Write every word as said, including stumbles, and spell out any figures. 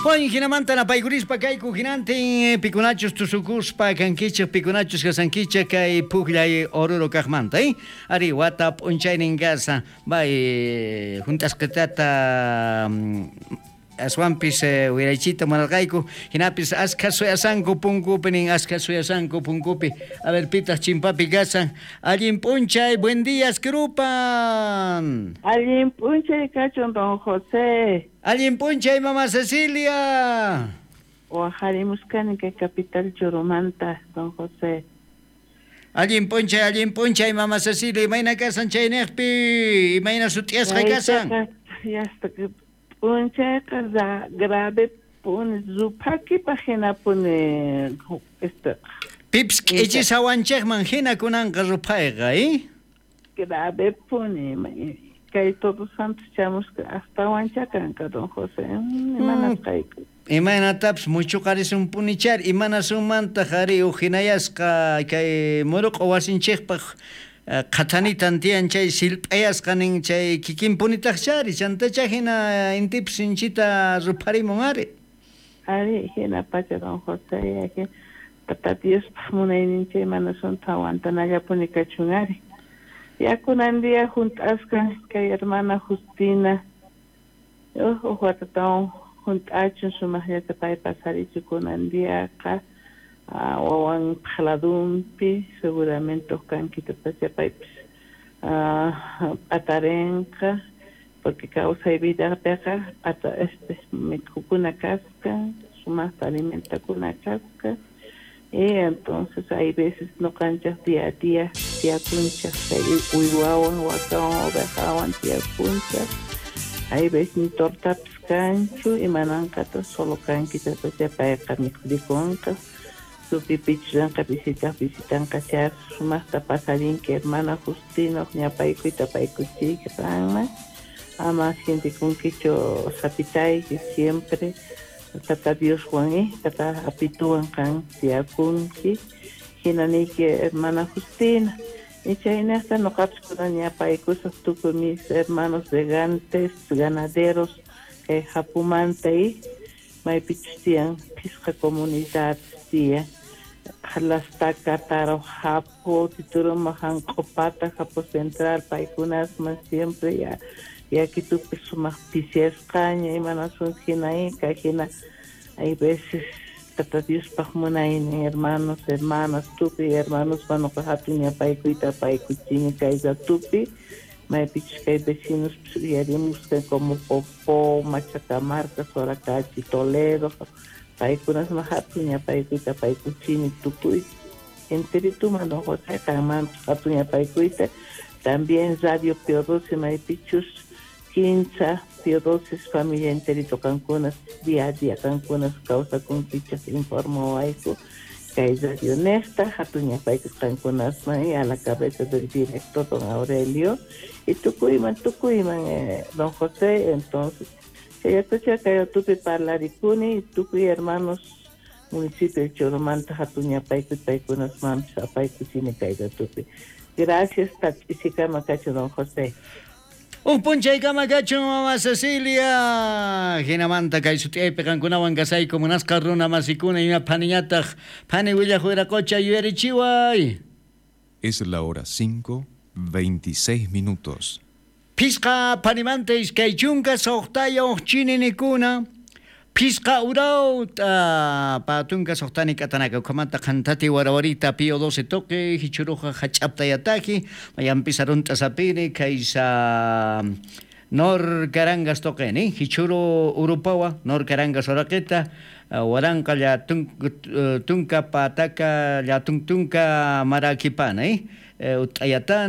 Juan hinamanta napaykurispa kayku hinantin pikunachus tusukuspa kankichik pikunachus kasankichik kay pukllay Oruro kaqmanta, eh? Ari wata p'unchaynin kasa bay junt'asqitata aswanpis eh, wiraychita munarqayku hinapis askha suyasanku punkupi nin askha suyasanku punkupi. A ver, pitaq chimpapi kasan. Allin p'unchay, buen día, Krupan. Allin p'unchay kachun, don José. Allin p'unchay, mama Cecilia. Wajarimuskani kay capital Choromanta, don José. Allin p'unchay, allin p'unchay, mama Cecilia. Imayna kasan chayniqpi? Imayna sut'iyasqa kasan? Yasta p'unchayqa grave puni ruphakipaq hina puni este Pips k'ichisawanchikman hina kunanqa ruphayqa, eh? Grave puni kay Todos Santos chamusqa astawancha kanqa, don José. Imanasqayku. Imaynatapis muchuqarisunpunichari, imanasunmantaq ari uj hinayasqa kay muruq'u wasinchikpaq qhathanitan tiyan chay silp'ayasqa nin chay kikinpunitaqchari chantacha hina intipis sinchita rupharimun ari. Ari hina pacha, don José, tata Diospaq munayninchik imanasunta aguantanallapuni kachun ari. Ya kunan día junt'asqa kay hermana Justina uj watatawan junt'achun sumaqllata pay pasarichu kunan diaqa wawan phaladunpi seguramente uj kankita paypis p'atarinqa porque kawsay vidapiqa p'ata este mikhukuna kasqa sumaqta alimentakuna kasqa. Y entonces hay veces noqanchik día a día tiyakunchik kay uywawan wakawan ovejawan tiyakunchik hay veces ni tortapis kanchu imananqata solo kankitatacha payqa mikhurikunqa tupipichranqa visitaq visitanqa char sumaqta pasarinki hermana Justina ñapaykuyta paykuchiyki qanman ama sientikunkichu sapitayki siempre tata Dioswan eh tata apituwan qan tiyakunki hinaniyki hermana Justina y chaynaqta noqapis kunan ñapaykusaq tukuy mis hermanos regantes ganaderos kay Japumanta y maypichus tiyan phisqa comunidades tiyan Jalastaka, Taro, Japo, Tituruma, Janq'upata, Japo Central, paykunasman siempre ya yakitupi sumaq pisiasqaña imanasun hina kay hina hay veces tata Diospaq munaynin hermanos, hermanas, tukuy hermanos noqa hatun ñapaykuyta apaykuchini kay ratupi maypichus kay vecinos uyarimusqa como Popó, Machacamarca, Soracachi, Toledo paykunasman hatun ñapaykuyta apaykuchini tukuy enterituman don José qanmanpis hatun ñapaykuyta. También Radio Pío doce maypichus kinsa Pío doce familia enterito qankunas día a día qankunas kawsakunkichik informawayku kay Radio Nesta hatun ñapaykus qankunasman y a la cabeza del director don Aurelio y tukuyman tukuyman eh, don José. Entonces chayatacha kay tupi parlarikuni tukuy hermanos municipio de Choromanta hatun ñapaykuy paykunasmanpis apaykuchini kay ratupi. Gracias, Tach'isikama kachu, don José. Un p'unchaykama kachun, mama Cecilia. Hinamanta kay sut'iyaypi qankunawan kasayku munasqa runa masikuna ima phaniñataq phani willaq wiraqocha yuyarichiway. Es la hora cinco, veintiséis minutos. Phisqa phanimanta iskay chunka suqtayuq chininikuna. Phisqa urawta patunka suqtani k'atanaka ukhamanta qhantati warawarita Pío doce toque hichuruqa hach'aptayataqi mayanpis arunt'a sapini kaysa Nor Carangas toqeni hichuru urupawa Nor Carangas oraqita waranqa llatun tunka pataka llatuntunka marakipana eh ut'ayatana.